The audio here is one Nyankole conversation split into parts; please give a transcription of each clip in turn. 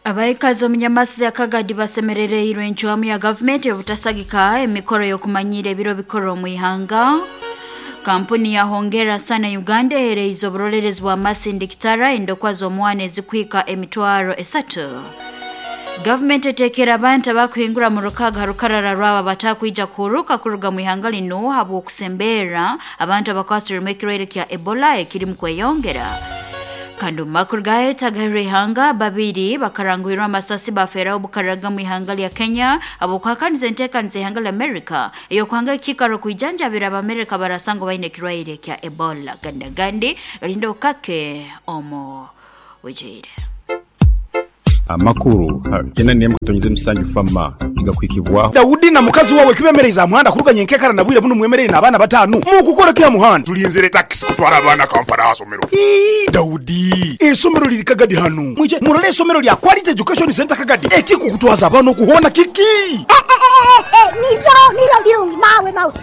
Abaikazi omu Nyamasi ya Kagadi basemerereirwe encwamu ya gavumenti y'obutasagika emikoro y'okumanyiira ebiro bikuru omu ihanga. Kampuni ya Hongera Sana Uganda ehereize oburolerezi bwa masindikitara endokwa z'omwana ezikuhika 30,000. Gavumenti eteekera abantu abakuhingura mu rukaga ha rukarara rwabo abatakwija kuhuruka kuruga mu ihanga linu habw'okusemberra abantu abakwasirwemu ekirwaire kya Ebola ekirimu kweyongera. Kandi omu makuru gayo tagahirwe ihanga babiri bakaranguhirwa amasasi bafeeraho obukaraga mu ihanga lya Kenya habw'okuhakaniza enteekaniza ihanga lya Amerika ey'okuhanga ekiikaro kwijanjabira Abamerika barasangwa baine ekirwaire kya Ebola. Gandi agandi galinda okake omu bwijwire. Amakuru kyenda n'emwe katonyeza emisanju FAMA nigakuhikibwaho. Daudi na mukazi wawe kibemereize aha muhanda kuruga nyenkekara na bwire bunu mwemereire n'abaana batanu. Mukukora ki aha muhanda? Tulinzire takisi kutwara abaana Kampala aha somero. Ii, Daudi, eisomero liri Kagadi hanu. Mwije murole eisomero lya Quality Education Centre Kagadi. Ekikukutwaza abaana okuhoona kiki? Nibyo, nibyo birungi mawe mawe.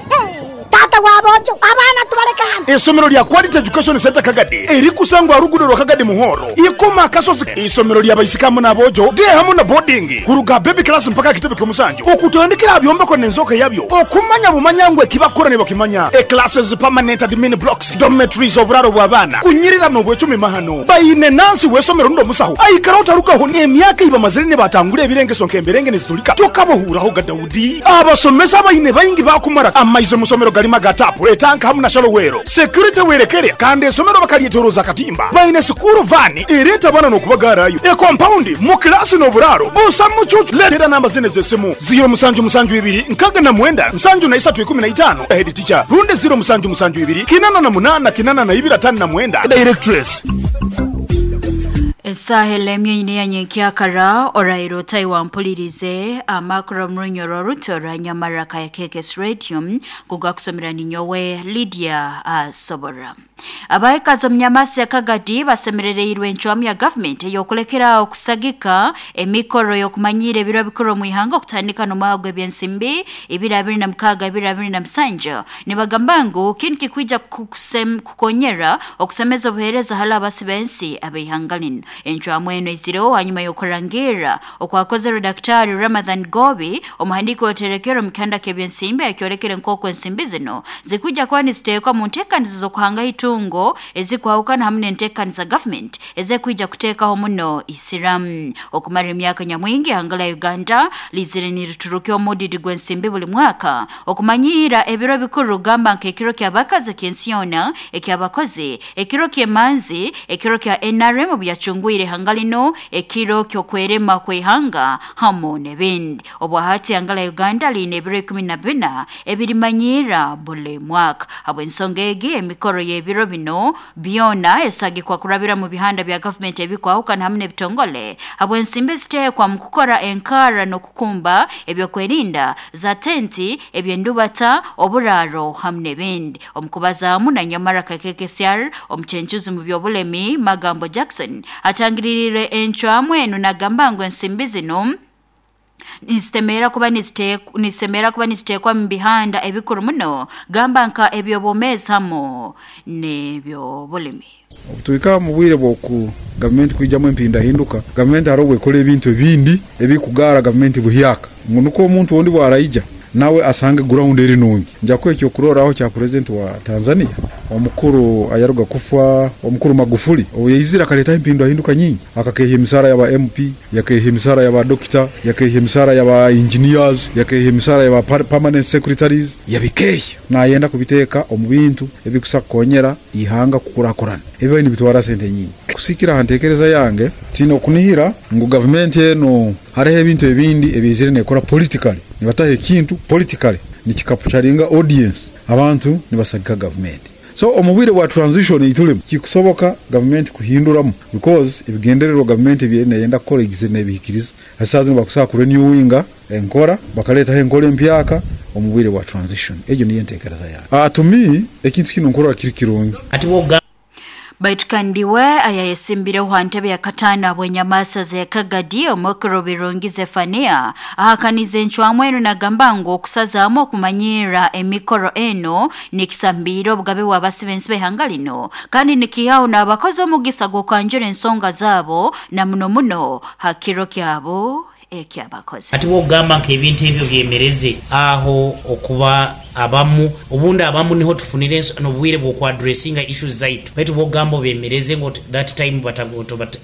Taata wa boojo, abaana tubaleke hano. Eisomero lya Quality Education Centre Kagadi erikusangwa aha ruguudo rwa Kagadi Muhoro, Ikoma Akasozi. Eisomero lya baisiki hamu n'aboojo, day hamu na boarding, kuruga baby class mpaka aha kitebe ky'omusanju, okutandikira aha byombeko n'enzooka yabyo, okumanya bumanya ngu ekibakukora nibakimanya, e classes, permanent admin blocks, dormitories, oburaaro bw'abaana, kunyirira n'obwecumi mahano. Baine nansi w'eisomero rundi omusaho aikara otarugaho n'emyaka ei bamazire nibatangura ebirengeso nk'emberenge nizitulika tokabahuuraho ga Daudi. Abasomesa abaine baingi baakumara amaizi omu somero garimu aga taapu, etanka hamu na shalowero. Security werekere kandi esomero bakaryetoroza akatimba. Baine sikuuru vaani ereeta abaana n'okubagaarayo, ekompaundi, mu kilaasi n'oburaaro busa mucuucu. Leetera namba zinu ez'esimu, ziiro musanju musanju ibiri nkaga na mwenda nsanju na isatu ikumi na itaano, Head teacher, rundi ziiro musanju musanju ibiri kinana na munana kinana na ibiri atano na mwenda, Directress. Esaaha elemye eine ya nyenkyakara oraire otai wampulirize amakuru omu runyoro oruto orwa Nyamaraka ya KKS Radio kugakusomera ninyowe Lydia Asobora. Abaikazi omu Nyamasi ya Kagadi basemerereirwe encwamu ya gavumenti ey'okulekera okusagika emikoro y'okumanyiira ebiro bikuru omu ihanga okutandika n'omwaka gw'ebyensimbi 2026 2027. Nibagamba ngu kinu kikwija kukonyera okusemeza obuheereza hali abasi b'ensi ab'ihanga linu. Encwamu enu eizireho hanyuma y'okurangirra okwakozerwe Daktari Ramadhan Gobi, omuhandiiki w'oterekero omu kihanda ky'ebyensimbi akyolekere nk'oku ensimbi zinu zikwija kuba niziteekwa mu nteekaniza z'okuhangaho itungo ezikwahukana hamu n'enteekaniza gavumenti ezekwija kuteekaho muno isiramu. Okumara emyaka nyamwingi ihanga lya Uganda lizire niriturukya omudidi gw'ensimbi buli mwaka okumanyiira ebiro bikuru gamba nk'ekiro ky'abakazi eky'ensi yoona, eky'abakozi, ekiro ky'emanzi, ekiro kya NRM obu yacungwire ihanga linu, ekiro ky'okwerema kw'ihanga hamu n'ebindi. Obwahati ihanga lya Uganda liine ebiro 14 ebirimanyiira buli mwaka. Habw'ensonga egi emikoro y'ebiro binu byona esagikwa kurabira mu bihanda bya gavumenti ebikwahukana hamu n'ebitongole habw'ensimbi eziteekwa mu kukora enkarra n'okukumba ebyokwerinda za tenti, eby'endubata, oburaaro hamu n'ebindi. Omu kubazaamu na Nyamaraka KKCR omucencuzi mu by'obulemi Magambo Jackson atangiriire encwamu enu nagamba ngu ensimbi zinu nizisemera kuba nizisemera kuba niziteekwa mu bihanda ebikuru muno gamba nka eby'obwomeezi hamu n'eby'obulimi. Obu tuhika omu bwire bw'oku gavumenti kwijamu empindahinduka, gavumenti hariho obu ekora ebintu ebindi ebikugaara gavumenti buhyaka ngu nukwo omuntu ondi bwaraija nawe asange ground eri nungi. Nja kuha ekyokurorraho kya purezidenti wa Tanzania omukuru ayaruga kufa omukuru Magufuli obu yaizire akaleetaho empindahinduka nyingi. Akakeehya emisaara ya ba MP, yakeehya emisaara ya ba dokita, yakeehya emisaara ya ba engineers, yakeehya emisaara ya ba permanent secretaries, yabikeehya. Naayenda kubiteeka omu bintu ebikusa kukonyera ihanga kukurakurana. Ebibaire nibitwara sente nyingi. Kusiikira aha nteekereza yange, twine okunihira ngu gavumenti enu hariho ebintu ebindi ebi neekora politically. Nibataho ekintu politically nikikapucharinga audience, abantu nibasagika gavumenti. So omu bwire bwa transition ei turimu, kikusoboka gavumenti kuhinduramu because ebigendererwa gavumenti ebi eriyo neyenda kukora eigizire nebihikiriza. Hati saaha zinu bakusobola kurenewinga enkora bakaleetaho enkora empyaka omu bwire bwa transition. Egyo niyo enteekereza yange. To me ekintu kinu nkurora kiri kirungi. Baitu kandi we ayayesimbireho ha ntebe ya kataano habw'enyamaasa z'ekagadi omukuru Birungi Zephania ahakaniza encwamu enu nagamba ngu okusazaamu okumanyirra emikoro enu nikisambiire obugabe bw'abasibe ensi b'ihanga lino kandi nikihaho n'abakozi omugisa gw'okwanjura ensonga zaabo na muno muno ha kiro kyabo ekyabakozi. Hati bw'okugamba nk'ebintu ebyo byemereze aho okuba abamu, obundi abamu niho tufunire n'obwire bw'okwadressinga issues zaitu, baitu bw'okugamba obemereze ngu that time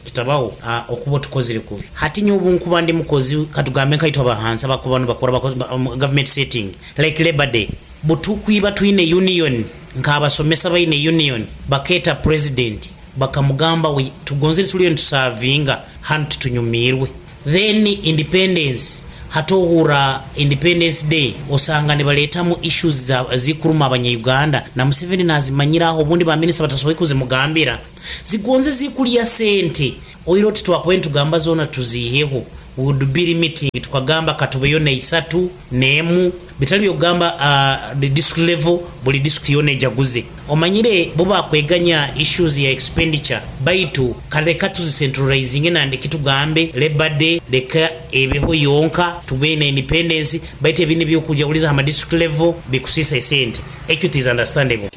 kitabaho, okuba otukozire kubi. Hati nyowe obunkuba ndi mukozi, katugambe nkaitwe abahansi abakuba nibakora omu government setting like Labour Day, butukwiba twine union, nk'abasomesa baine union, bakeeta president bakamugamba we tugonzire turiyo nitusavinga hanu titunyumiirwe. Then independence hati ohurra independence day osanga nibaretamu issues zikuruma abanya Uganda na Museveni nazimanyira aho obundi ba minister batasoboire kuzimugambira zigonze zikurya sente oire oti twakubaire nitugamba zona tuziheho we would be limiting tukagamba katubeyo neisatu nemu Bitari by'okugamba the district level buri district yoona ejaguze. Omanyire bo bakweganya issues ya expenditure baitu ka reka tuzi centralizinge nandiki tugambe labour day reka ebeho yonka tube na independence baitu ebindi eby'okujaguriza aha ma district level bikusiisa esente. Ekyo it is understandable.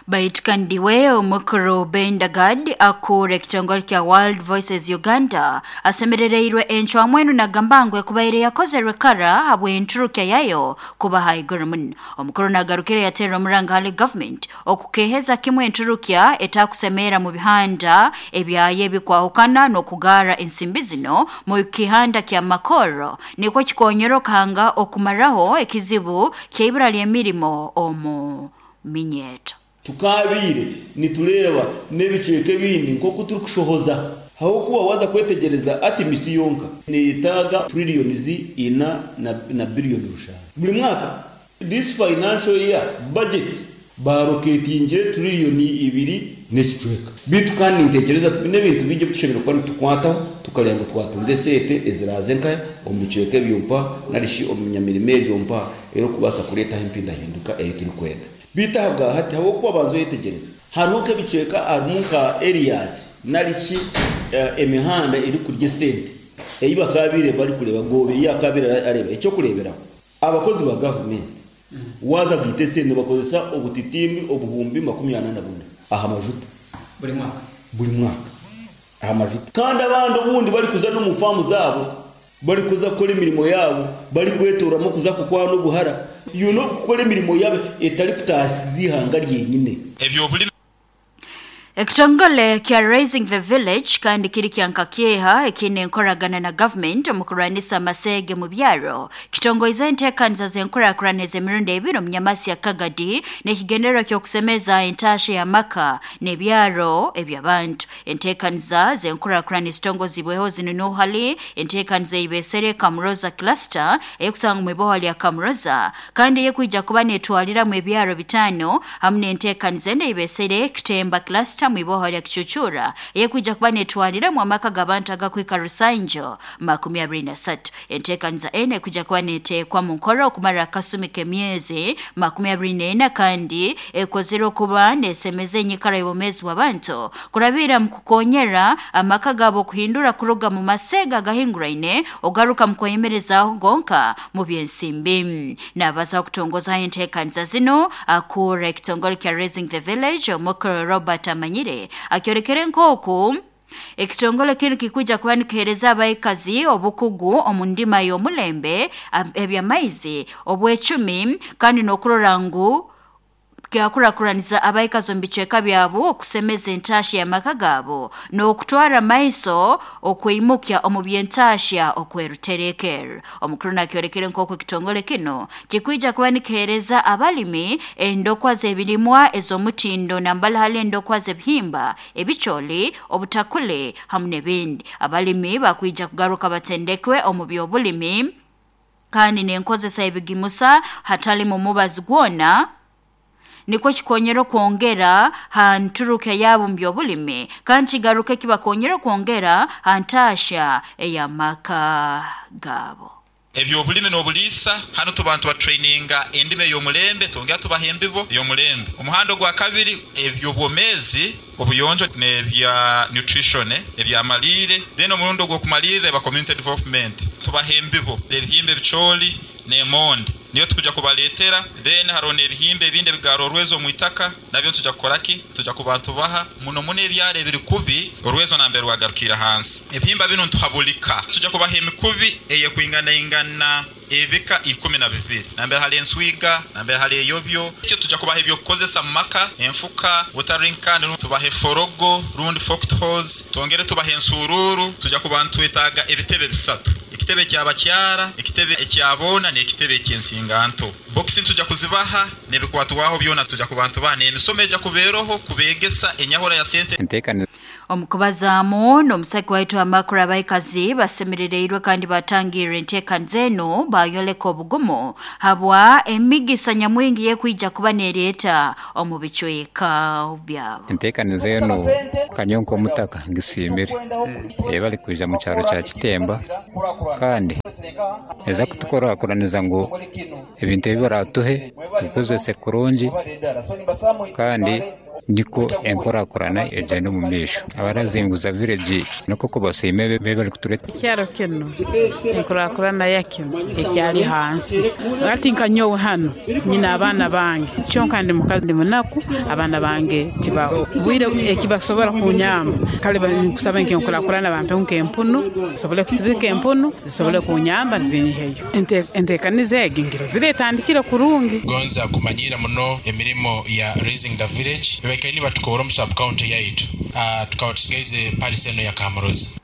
Baitu kandi we omukuru Bendagad akuura ekitongole kya World Voices Uganda asemerereirwe encwamu enu nagamba ngu ekubaire yakozerwe kara habw'enturukya yayo kuba haiguru muno. Omukuru nagarukire yaterra omuranga hali government okukeheza kimu enturukya etakusemeera mu bihanda ebyayo ebikwahukana n'okugaara ensimbi zino mu kihanda kya Makoro nikwo kikonyera okanga okumaraho ekizibu ky'eibura ly'emirimo omu minyeeto. Tukaabaire nitureeba n'ebicweka ebindi nk'oku turikushohoza. Ahabw'okuba waaza kwetegyereza Artemis yonka neeyetaaga trillions ina na billion rushanju buri mwaka. This financial year budget baaroketingire trillion ibiri n'ekicweka. Beitu kandi nintekyereza twine ebintu bingi ebi tushemereire kuba nitukwataho tukareeba ngu twatunga eseete eziraaze nka omu bicweka ebyo mpa nari shi omu nyamirimo egyo mpa erikubaasa kureetaho empindahinduka ei turikwenda. Beitu ahabwa hati, ahabw'okuba banza oyetegyereze, hariho nk'ebicweka harimu nka areas nari shi emihanda erikurya esente ei bakaabaire barikureeba Goobe ei akaabaire areeba. Eky'okureeberaho, abakozi ba gavumenti waaza kugaita esente nibakozesa obutitimbi 44,000 aha majuta buri mwaka. Aha majuta. Kandi abandi obundi barikuza n'omu faamu zaabo, barikuza kukora emirimo yaabo, barikwetoorwamu kuza kukwana obuhara, you know, kukora emirimo yaabo etarikutaasiza eihanga ryenyine. Ekitongole kya Raising the Village kandi kiri kya nkakyeha ekiine enkoragana na government omu kurwanisa amaseege mu byaro kitongoize enteekaniza z'enkurakurana ez'emirundi ebiri omu Nyamasya Kagadi n'ekigendererwa ky'okusemeza entaahya y'amaka n'ebyaro eby'abantu. Enteekaniza z'enkurakurana ezitongozibweho zinu nuho hali enteekaniza ei beesere Kamuroza Cluster eyekusangwa omu iboha lya Kamuroza kandi eyekwija kuba netwaliramu ebyaro bitaano hamu n'enteekaniza endi ei beesere Kitemba Cluster mu iboha lya Kicucura eyekwija kuba netwaliramu amaka g'abantu agakuhika rusanju 23. Enteekaniza enu ekwija kuba neteekwa mu nkora okumara akasumi k'emyezi 24 kandi ekozerwe kuba nesemeza enyikara y'obwomeezi bw'abantu kurabira mu kukonyera amaka gaabo kuhindura kuruga mu maseega agahinguraine ogaruka mu kweyemerezaaho gonka mu by'ensimbi. Nabazaho kutongozaho enteekaniza zinu, akuura ekitongole kya Raising the Village, Omuk. Robert Amanyire akyolekere nk'oku Ekitongole kinu kikwija kuba nikiheereza abaikazi obukugu omu ndima y'omulembe, eby'amaizi, obwecumi kandi n'okurora ngu kyakurakuraniza abaikazi omu bicweka byabo okusemeza entahya y'amaka gaabo n'okutwara maiso okwimukya omu by'entahya okweruterekerra. Omukuru nakyolekere nk'oku ekitongole kinu Kikwija kuba nikiheereza abalimi endokwa z'ebirimwa ez'omutindo nambali hali endokwa z'ebihimba, ebicooli, obutakuli hamu n'ebindi. Abalimi bakwija kugaruka batendekwe omu by'obulimi kandi n'enkozesa y'ebigimusa hatalimu mubazi gwona nikwo kikonyere okwongera ha nturukya yaabo omu by'obulimi kandi kigaruke kibakonyere okwongera ha ntaahya ey'amaka gaabo. Eby'obulimi n'obuliisa, Hanu tuba nitubatraininga endima ey'omulembe twongera tubaha embibo ey'omulembe. Omuhanda ogwakabiri, eby'obwomeezi, obuyonjo n'ebya nutrition, eby'amaliire. Then omurundi ogw'okumalirra eba community development, tubaha embibo, ebihimba ebicooli n'emondi niyo tukuja kubaleetera. Then haroho n'ebihimba ebindi ebigaara orwezo omu itaka nabyo nituja kukora ki? Nituja kuba nitubaha muno muno ebyaro ebiri kubi orwezo nambere rwagarukiire ahansi. Ebihimba binu nituha buli ka. Nituja kubaha emikubi eyekwinganaingana ebika 12, nambere hali enswiga, nambere hali eyobyo. Ekyo tuja kubaha eby'okukozesa mu maka, enfuka, watering can, tubahe forogo rundi forked hoes, twongere tubahe ensuruuru. Tuja kuba nitwetaaga ebitebe bisatu, ekitebe eky'abakyara, ekitebe ekya boona n'ekitebe eky'ensinganto. Bokisi nituja kuzibaha n'ebikwatwaho byona tuja kuba nitubaha n'emisomo eja kuba eroho kubeegesa enyahura ya sente. Enteekaniza. Omu kubazaamu n'omusaki waitu amakuru, abaikazi basemerereirwe kandi batangirra enteekaniza enu bayoleka obugumu habwa emigisa nyamwingi y'ekwija kuba nereeta omu bicweka byabo. Enteekaniza enu nka nyowe nk'omutaka ngisiimire. Ebali kwija mu kyaro kya Kitemba kandi eza kutukurakuraniza ngu ebintu ebi baratuhe tubikozese kurungi kandi nikwo enkurakurana egyenda omu maisho. Abarazinguza village nikwo kubasiima ebi barikutureetera. Ekyaro kinu enkurakurana yakyo ekyari hansi. Hati nka nyowe hanu nyine abaana bange kyonka ndi mukazi ndi munaku abaana bange tibaho bwire ekibasobora kunyamba. Kale ninkusaba nk'enkurakurana bampeho nk'empunu nsobole kusibika empunu zisobole kunyamba zinyiheyo. Enteekaniza egi ngirozire etandikire kurungi. Gonza kumanyiira muno emirimo ya Raising the Village baikaire nibatukoora omu sub county yaitu tukaba tusigaize parish eno ya Kamurozi.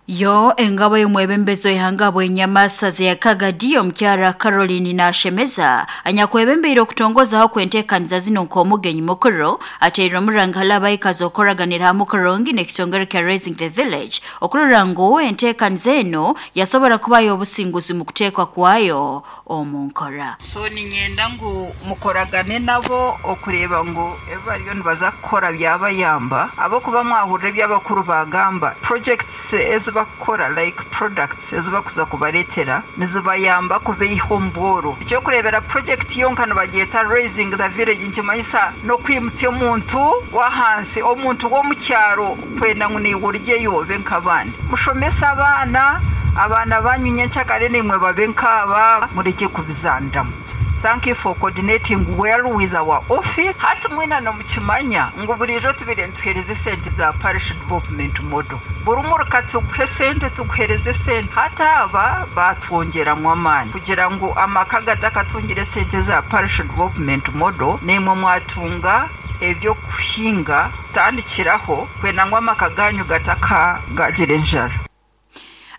Yo engabo y'omwebembezi w'ihanga bw'enyamasaza ya Kagadi omukyara Caroline Nashemeza anyakwebembeire okutongozaho kw'enteekaniza zinu nk'omugenyi mukuru ateire omuranga hali abaikazi okukoraganira hamu kurungi n'ekitongore kya Raising the Village okurora ngu enteekaniza enu yasobora kubayo obusinguzi mu kuteekwa kwayo omu nkora. So niinyenda ngu mukoragane nabo okureeba ngu ebi bariyo nibaza kukora byabayamba ahabw'okuba mwahurira ebi abakuru baagamba, projects ezi barikukora like products ezi barikuza kubareetera nizibayamba kubaiha omu bworo. Eky'okureebera project yonka nibagyeta raising the village nikimanyisa n'okwimutsya omuntu w'ahansi, omuntu w'omu kyaro kwenda ngu naiwe orugyeyo obe nk'abandi. Mushomese abaana, abaana baanyu nyenkyakare naimwe babe nk'aba, murekye kubizaaniramu. Thank you for coordinating well with our office. Hati mwena nimukimanya ngu buriijo tubaire nituheereza esente za Parish Development Model. Buri muruka tuguha esente, tuguheereza esente. Hati aba baatwongyeramu amaani kugira ngu amaka agatakatungire esente za Parish Development Model naimwe mwatunga eby'okuhinga kutandikiraho kwenda ngu amaka gaanyu gatakagaagira enjara.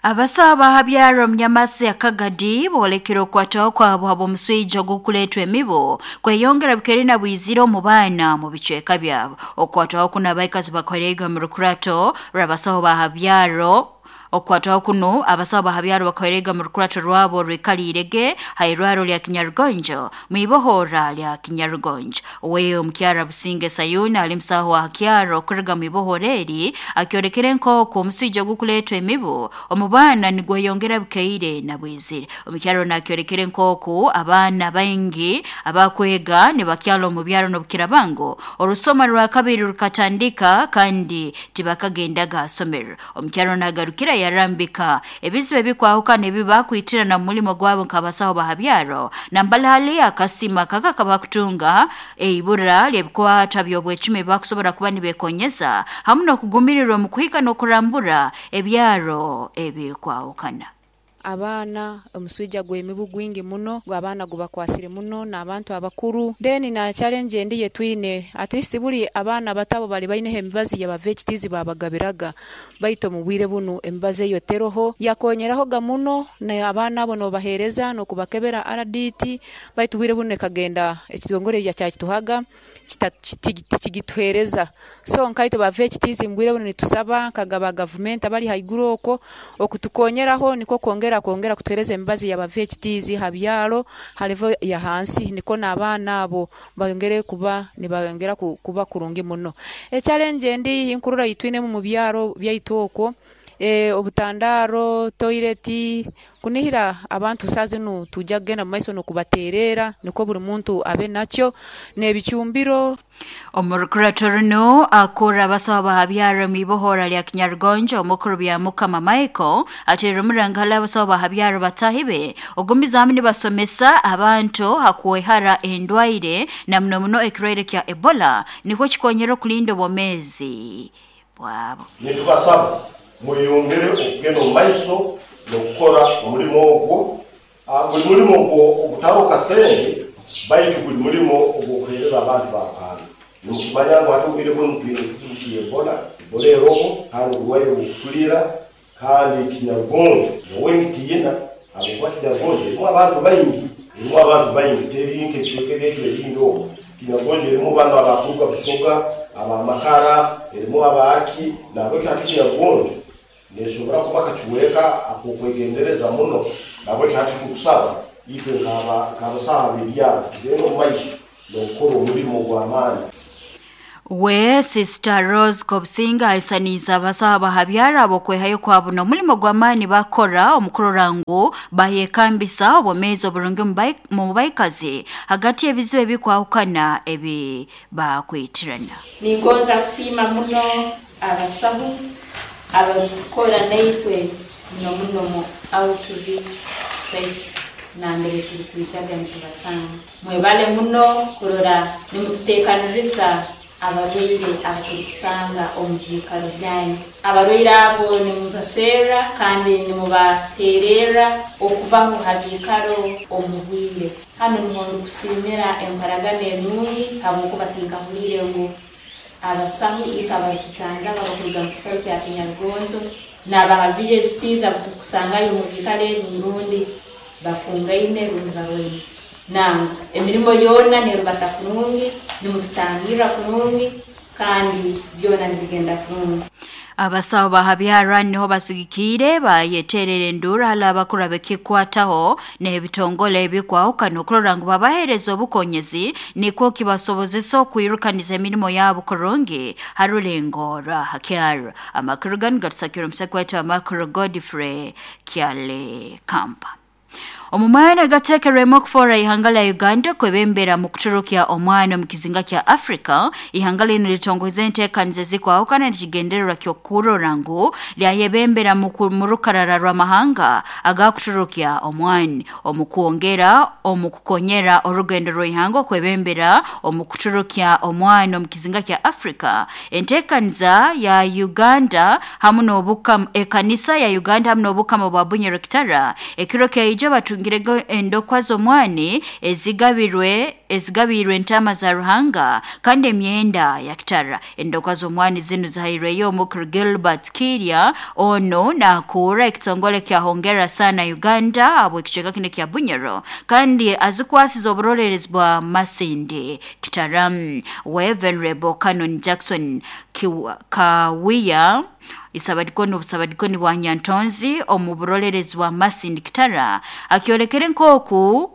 Abasaho abahabyara omu Nyamasi ya Kagadi boolekere okukwataho kwabo habw'omuswija ogw'okuleetwa emibu kweyongera bukeri na bwizire omu baana omu bicweka byabo. Okukwatwaho kunu abaikazi bakoreirwe omu rukurato rw'abasaho ba habyaro. Okukwatwaho kunu abasaho ba habyaro bakoreirwe omu rukurato rwabo orwikaliirege ha irwaro lya Kinyarugonjo mu ibohora lya Kinyarugonjo. Owe omukyara Businge Sayuni ali musaho wa hakyaro kuruga mu ibohora eri akyolekere nk'oku omuswija ogukuleetwa emibu omu baana nigweyongera bukaire na bwizire. Omukyara onu akyolekere nk'oku abaana baingi abakwega nibakyara omu byaro n'obukiraaba ngu orusoma rwakabiri rukatandika kandi tibakagendaga ha somero. Omukyara onu agarukire yarambika ebizibu ebikwahukana ebi bakwitirana omu mulimo gwabo nk'abasaho ba ha byaro nambali hali akasima kaka kabakutunga eibura ly'ebikwata by'obwecumi ebi bakusobora kuba nibekonyeza hamu n'okugumirirwa omu kuhika n'okurambura ebyaro ebikwahukana. Abaana, omuswija gw'emibu gwingi muno, abaana gubakwasire muno n'abantu abakuru. Then na challenge endi yetwine, at least buri abaana abato abo bari baineho emibazi yaba VHTs babagabiraga, baitu omu bwire bunu emibazi eyo teroho. Yakonyerahoga muno na abaana abo nobahereza n'okubakebera RDT, baitu obwire bunu ekagenda ekitongore ekyakituhaga tikigituheereza. So nkaitwe ba VHTs omu bwire bunu nitusaba nka ba gavumenti abari haiguru okwo okutukonyeraho nikwo kwongera kwongera kutuheereza emibazi ya ba VHTs ha byaro ha level ya hansi nikwo n'abaana abo bayongere kuba nibayongera kuba kurungi muno. Echallenge endi ei nkurora ei twinemu omu byaro byaitu okwo. Obutandaaro, toyireti, kunihira abantu saaha zinu twija kugenda mu maiso n'okubateereera nikwo buri muntu abe nakyo n'ebicumbiro. Omu rukurato runu, akurra abasaho bahabyara omu ibohora lya Kinyarugonjo omukuru Byamukama Michael ateerire omuranga hali abasaho bahabyaro bataahi be ogumizaamu nibasomesa abantu ha kwehara endwaire na muno muno ekirwaire kya Ebola nikwo kikonyera okulinda obwomeezi bwabo. Nitubasaba mweyongere okugenda omu maiso n'okukora omulimo ogwo. Guli mulimo ogutaroho kasente, baitu guli mulimo ogw'okuheereza abantu ba Ruhanga. Nimukimanya ngu hati obwire bunu twine ekizibu kya Ebola. Ebola eroho kandi oburwaire obukutuliira kandi kinyarugonjo. Nyowe nkitiina habwokuba kinyarugonjo erimu abantu baingi, erimu abantu baingi teri nk'ebicweka ebyaitu ebindi omu. Kinyarugonjo erimu banu abakuruga Busoga, aba Makara, erimu abaaki, nahabweki hati kinyarugonjo Nesobora kuba kacweka ak'okwegendereza muno, nahabweki hati tukusaba itwe nk'abasaho ab'ebyaro tugende omu maiso n'okukora omulimo ogw'amaani. We Sister Rose Kobusinge aisaniize abasaho abahabyaro ab'okwehayo kwabo n'omulimo gw'amaani bakora omu kurora ngu bayekambisa obwomeezi oburungi omu baikazi hagati y'ebizibu ebikwahukana ebi bakwitirana. Ningonza kusiima muno Abasahu abarukukora naitwe muno muno omu outreach sites nambere turukwijaga nitubasanga. Mwebale muno kurora nimututekaniriza abarwaire abaturukusanga omu biikaro byanyu. Abarwaire abo nimubaserra kandi nimubatererra okubaho ha biikaro omu bwire. Hanu nuho ndukusiimira enkoragana enungi habwokuba tinkahuliire ngu Abasahu itwe abarukujanjaba abakuruga mu kikaro kya Kinyarugonjo n'abaha VHTs abuturukusangayo omu biikaro ebi rundi bakungaine rundi barwaire. Nangwa, emirimo yoona nerubata kurungi, nimututangirra kurungi kandi byona nibigenda kurungi. Abasaho ba ha byarani niho basigikiire bayeterera enduuru hali abakuru abekikwataho n'ebitongole ebikwahukana okurora ngu babahereza obukonyezi nikwo kibasobozesa okwirukaniza emirimo yabo kurungi ha rulengo rwa ha kyaro. Amakuru ganu gatusakirwe omusaki waitu amakuru Godfrey Kyalikampa. Omu mwanya agateekerwemu okufoora ihanga lya Uganda kwebembera mu kuturukya omwana omu kizinga kya Africa, ihanga linu litongoize enteekaniza ezikwahukana nekigendererwa ky'okurora ngu lyayebembera mu rukarara rw'amahanga agakuturukya omwani omu kwongera omu kukonyera orugendo rw'ihanga okwebembera omu kuturukya omwani omu kizinga kya Africa. Enteekaniza ya Uganda hamu n'obukama ekanisa ya Uganda hamu n'obukama bwa Bunyoro Kitara ekiro kyaijo batungirege endokwa z'omwani ezigabirwe ezigabiirwe entaama za Ruhanga kandi emyenda ya Kitara. Endokwa z'omwani zinu zihairweyo Omukuru Gilbert Kiirya onu nakuura ekitongole kya Hongera Sana Uganda habw'ekicweka kinu ekya Bunyoro kandi azikwasize oburoleerezi bwa Masindi Kitara. We Venerable Canon Jackson Kawiya Isabadikoni obusabadikoni bwa Nyantonzi omu burolerezi bwa Masindi Kitara akyolekere nk'oku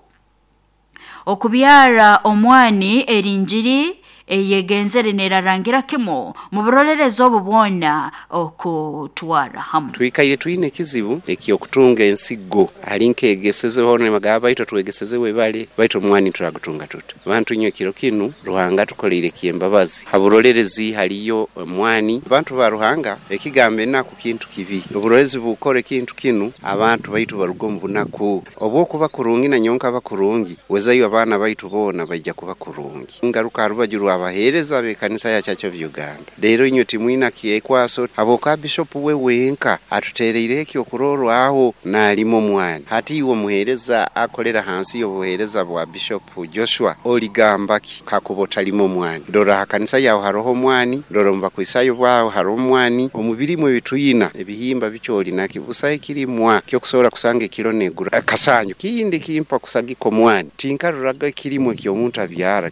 okubyara omwani eri njiri eyegenzere nerarangira kimu mu burolerezi obu bwona okutwara hamu. Twikaire twine ekizibu eky'okutunga ensigo. Hali nkeegesezeho nibagamba baitu otwegeseze webale, baitu omwani turagutunga tuta? Bantu inywe kiro kinu Ruhanga atukoleire eky'embabazi. Ha burorerezi haliyo omwani. Bantu ba Ruhanga, ekigambo enaku kintu kibi. Oburorezi bukora ekintu kinu, abantu baitu baruga omu bunaku. Obwokuba kurungi na nyowe nkaba kurungi, wezayo abaana baitu boona baija kuba kurungi. Ngaruka ha rubaju rw'abaheereza b'ekanisa ya Church of Uganda. Reero inywe timwina kyekwaso habwokuba Bishopu we wenka atuteereireho eky'okuroorwaho naalima omwani. Hati iwe omuheereza akorera hansi y'obuheereza bwa Bishopu Joshua oligamba ki kakuba otalima omwani? Dora aha kanisa yaawe haroho omwani, dora omu Bakristaayo baawe haroho omwani, omu birimwa ebi twina ebihimba bikye olinaki? Busaho ekirimwa ky'okusobora kusanga ekiro neegura akasanju. Kindi kimpa kusagika omwani, tinkaroraga ekirimwa eky'omuntu abyara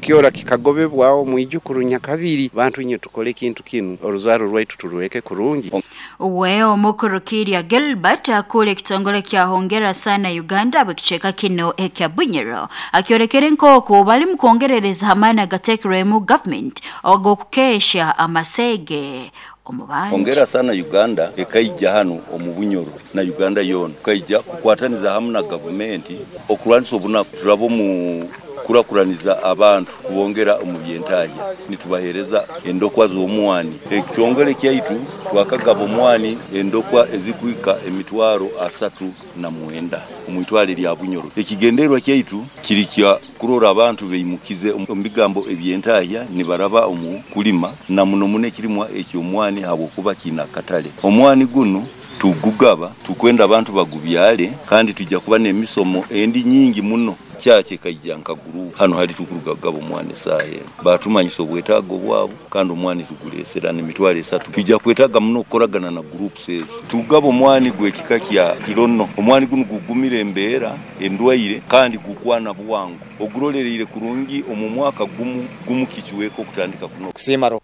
Kyora kikagobebwaho mwijukuru nyakabiri. Bantu inywe tukole ekintu kinu, oruzaaro rwaitu turureke kurungi. We Omukuru Kiirya Gilbert akuura ekitongole kya Hongera Sana Uganda ab'ekicweka kinu ekya Bunyoro akyolekere nk'oku balimu kwongerereza ha maani agateekirwemu government ag'okukeehya amaseege. omu bantu. Hongera sana Uganda ekaija hanu omu Bunyoro na Uganda yoona tukaija kukwataniza hamu na gavumenti okurwanisa obunaku. Turaba omu kukurakuraniza abantu kubongera omu by'entahya nitubaheereza endokwa z'omwani. Ekitongole kyaitu twakagaba omwani endokwa ezikuhika 390 omu itwale lya Bunyoro. Ekigendererwa kyaitu kiri kya kurora abantu beimukize omu bigambo eby'entahya nibaraba omu kulima na muno muno ekirimwa eky'omwani ahabw'okuba kiine akatale. Omwani gunu tugugaba tukwenda abantu bagubyare kandi twija kuba n'emisomo endi nyingi muno. Church ekaija nka gurupu hanu hali tukuruga kugaba omwani esaaha enu. Baatumanyisa obwetaago bwabo kandi omwani tugureesera n'300. Twija kwetaaga muno kukoragana na groups ezo. Tugaba omwani gw'ekika kya Kirono. Omwani gunu gugumira embeera, endwaire kandi gukwana bwangu. Ogurolereire kurungi omu mwaka gumu gumu kicweka okutandika kunoga. Kusiima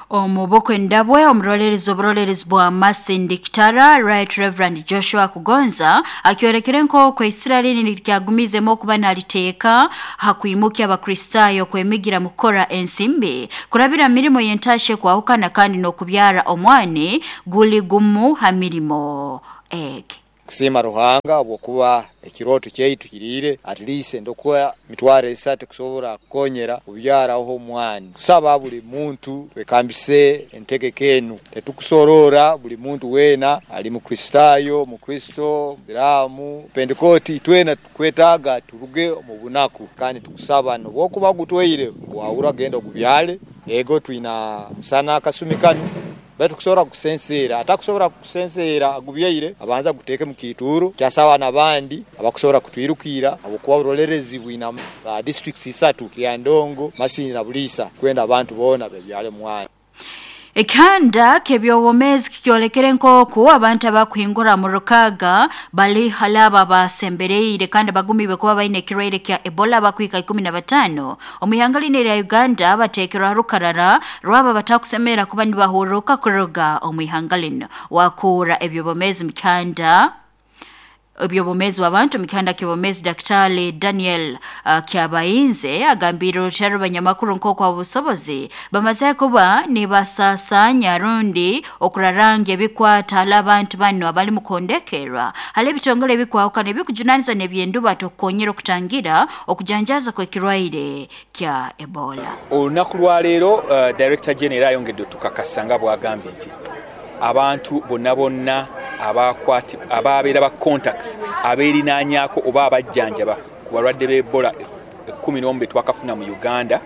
Omu bukwenda bwe, omuroleerezi oburoleerezi bwa Masindi Kitara, Right Rev. Joshua Kugonza akyorekere nk'oku eisira linu niryagumiizemu okuba naliteeka ha kwimukya Abakristaayo kwemigira mu kukora ensimbi kurabira mu mirimo y'entaahya ekwahukana kandi n'okubyara omwani guli gumu ha mirimo egi. Kusiima Ruhanga habwokuba ekirooto kyaitu kiriire at least endokwa 300 kusobora kukonyera kubyaraho omwani. Kusaba buli muntu twekambise entegeka enu. Tetukusoroora buli muntu weena ali Mukristaayo, Mukristo, Mubiraamu, Pentekooti itwena tukwetaaga turuge omu bunaku kandi tukusaba nobwokuba gutwaire wahurra genda ogubyale. Ego twina musana akasumi kanu. Baitu kusobora kusenseera, atakusobora kusenseera agubyaire, abanze aguteeke mu kiituuro kyasaba n'abandi abakusobora kutwirukiira habwokuba oburolerezi bwina districts isatu, Kiryandongo, Masindi na Buliisa kwenda abantu boona bebyale omwani. Ekihanda ky'eby'obwomeezi kikyolekere nk'oku abantu abakuhingura mu rukaaga bali hali abo abasembereire kandi bagumiibwe kuba baine ekirwaire kya Ebola abakuhika 15 omu ihanga linu erya Uganda bateekerwe ha rukarara rwabo abatakusemerra kuba nibahurruka kuruga omu ihanga linu. Wakuura eby'obwomeezi mu kihanda eby'obwomeezi bw'abantu omu kihanda ky'obwomeezi Daktari Daniel Kyabayinze agambiire orukyaro banyamakuru nk'oku ab'obusobozi bamaze kuba nibasasaanya rundi okurarangya ebikwata hali abantu banu abali mu kuhondekerwa hali ebitongole ebikwahukana ebikujunanizibwa n'eby'endubato okukonyera okutangira okujanjaaza kw'ekirwaire kya Ebola. Olunaku lwaleero Director General era ayongedde otukakasa nga bwagambye nti abantu bonabona ababeera ba contacts aberinanyaako oba abajjanjaba ku balwadde ba Ebola 11 betwakafuna mu Uganda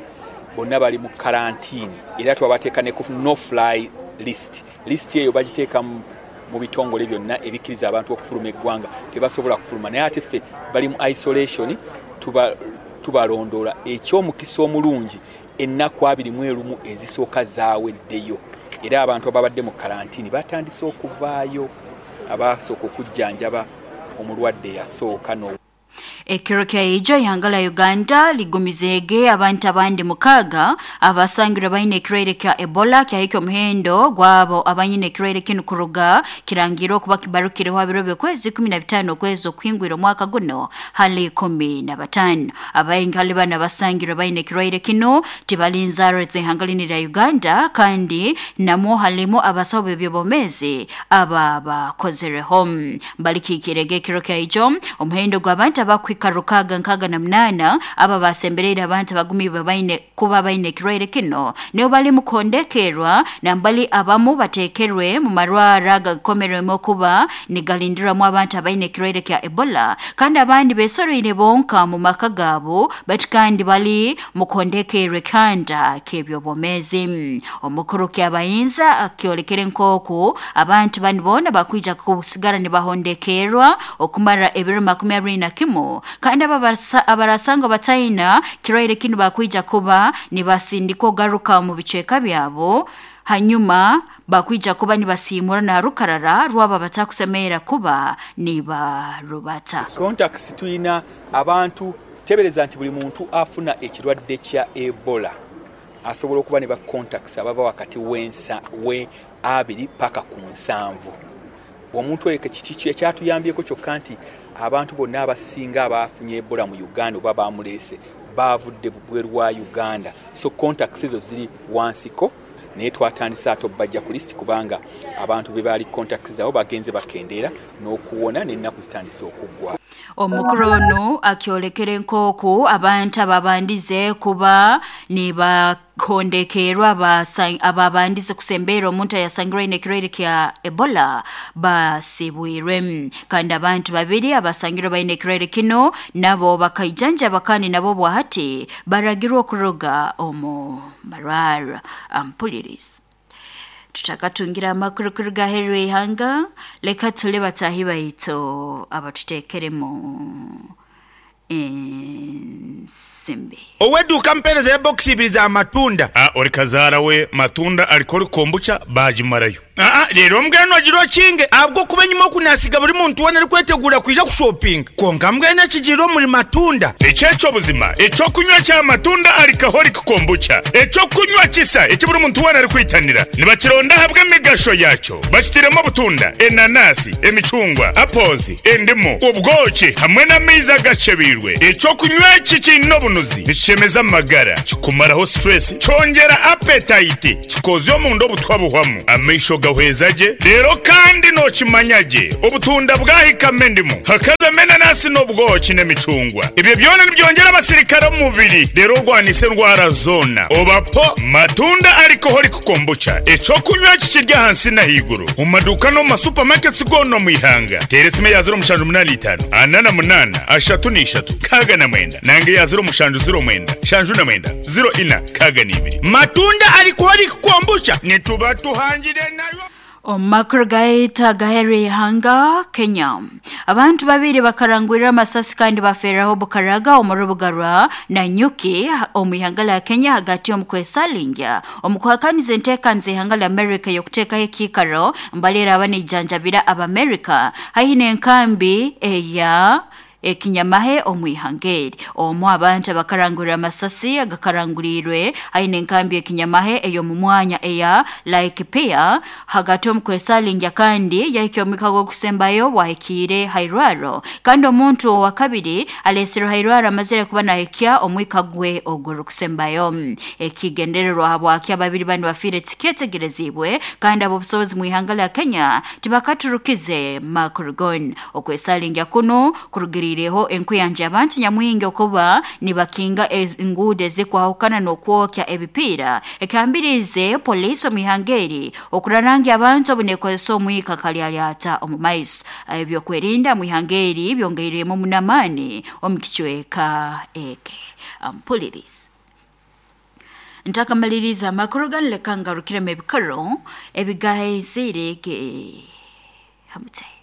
bonna bali mu kalantiini era twabateeka ne ku no fly list. List eyo bagiteeka mu bitongole byonna ebikkiriza abantu okufuluma eggwanga tebasobola kufuluma naye ate ffe bali mu isolation tubalondoola. Eky'omukisa omulungi ennaku 21 ezisooka zaaweddeyo era abantu ababadde mu kalantiini batandise okuvaayo abaasooka okujjanjaba omulwadde eyasooka n'o. Ekiro kya ijo ihanga lya Uganda ligumizeege abantu abandi 6 abasangirwe baine ekirwaire kya Ebola kyahika omuhendo gwabo abanyine ekirwaire kinu kuruga kirangirwe okuba kibarukireho ha biro by'okwezi 15 okwezi okuhingwire omwaka guno hali 15. Abaingi hali banu abasangirwe baine ekirwaire kinu tibali nzaarwa z'ihanga linu erya Uganda kandi namwo halimu abasaho b'eby'obwomeezi ababakozereho. Balikiikirege ekiro kya ijo omuhendo gw'abantu abakuhika 668 abo abasembereire abantu abagumiibwe baine kuba baine ekirwaire kinu nibo bali mu kuhondekerwa nambali abamu bateekerwe mu marwaro agakomerwemu okuba nigalindirwamu abantu abaine ekirwaire kya Ebola kandi abandi besoroire bonka mu maka gaabo baitu kandi bali mu kuhondekerwa ekihanda ky'eby'obwomeezi. Omukuru Kyabayinza akyolekere nk'oku abantu banu boona bakwija kusigara nibahondekerwa okumara ebiro 21 kandi abo abarasangwa bataina kirwaire kinu bakwija kuba nibasindikwa ogaruka omu bicweka byabo hanyuma bakwija kuba nibasiimura na rukarara rwabo abatakusemerra kuba nibarubata. Contacts twina abantu tebereza nti buli muntu afuna ekirwadde kya Ebola asobola okuba ne ba contacts abava wakati w'ensa we abiri paka ku nsanvu. Omuntu oyo kiki ekyatuyambyeko kyokka nti abantu bonna abasinga abaafunye Ebola mu Uganda oba baamuleese baavudde bweru wa Uganda so contacts ezo ziri wansiko. Naye twatandise ate obbajja ku lisiti kubanga abantu be baali contacts zaabwe bagenze bakendeera n'okuwona n'ennaku zitandise okuggwa. Omukuru onu akyolekere nk'oku abantu ababandize kuba nibahondekerwa ababandize kusembeera omuntu ayasangirwe aine ekirwaire kya Ebola basibwirwe. Kandi abantu babiri abasangirwe baine ekirwaire kinu nabo bakaijanjaba kandi nabo bwahati baragirwe okuruga omu marwarro. Ampulirize. Tutakatungire amakuru kuruga aheeru y'ihanga, leka tule bataahi baitu abatuteekeremu ensimbi. Ow'eduuka ampeereza ebokisi ibiri za matunda. A Ori kazaara we matunda arikora kombucha baagimarayo. Aa Reero mbwenu ogire okinge ahabw'okuba enyima oku naasiga buri muntu weena arikweteguura kwija kushopinga. Kwonka mbwenu ekigiire omuri matunda. Eki eky'obuzima, eky'okunywa kya matunda alcoholic kombucha, eky'okunywa kisa eki buri muntu weena arikwitanira. Nibakironda ahabw'emigasho yaakyo. Bakitairemu obutunda, enanasi, emicungwa, apples, endimu, obwoki hamwe n'amaizi agakyebeirwe. Eky'okunywa eki kiine obunuzi, nikishemeza amagara, kikumaraho stress, kyongyera appetite, Kikoozya omunda obutwa buhwamu, amaisho gahweza gye, reero kandi nookimanya gye obutunda bwahikamu endimu, hakazamu enanasi n'obwoki n'emicungwa. Ebyo byona nibyongyera abasirikare omu mubiri reero orwanise endwara zoona. Oba po matunda alcoholic kombucha, eky'okunywa eki kiri ahansi n'ahaiguru omu maduuka n'omu ma supermarkets goona omu ihanga. Teera esimu eya 0785 48 33 69 nanga eya 0709 79 04 62. Matunda alcoholic kombucha nituba tuhangire nayo. Omu makuru gaitu agaheeru y'ihanga Kenya, abantu babiri bakarangurira amasasi kandi bafeeraho Bukaraga omu rubuga rwa Nanyuki omu ihanga lya Kenya hagati omu kwesalingya omu kuhakaniza enteekaniza y'ihanga lya America ey'okuteekaho ekiikaro mbali eraaba neijanjabira Abamerika haihi n'enkambi eya ekinyamahe omu ihanga eri. Omu abantu abakarangurira amasasi agakaranguriirwe haihi n'enkambi y'ekinyamahe ey'omu mwanya eya Laikipia hagati omu kwesalingya kandi yahikya omwika gw'okusembayo bwahikiire ha irwarro kandi omuntu owakabiri aleesirwe ha irwarro amazire kuba nahikya omwika gwe ogurukusembayo. Ekigendererwa habwaki ababiri banu bafiire tikyetegereziibwe kandi ab'obusobozi mu ihanga lya Kenya tibakaturukize makuru goona. Okwesalingya kunu kurugiriireho enkuyanja y'abantu nyamwingi okuba nibakinga enguudo ezikwahukana n'okwokya ebipiira ekihambiriize poliisi omu ihanga eri okurarangya abantu obu neekozesa omwika kalyalyata omu maiso. Ebyokwerinda omu ihanga eri byongeirwemu muno amaani omu kicweka eki. Ampulirize. Ntakamaliriize amakuru ganu leka ngarukiremu ebikaro ebigaheziire ge ha mutwe.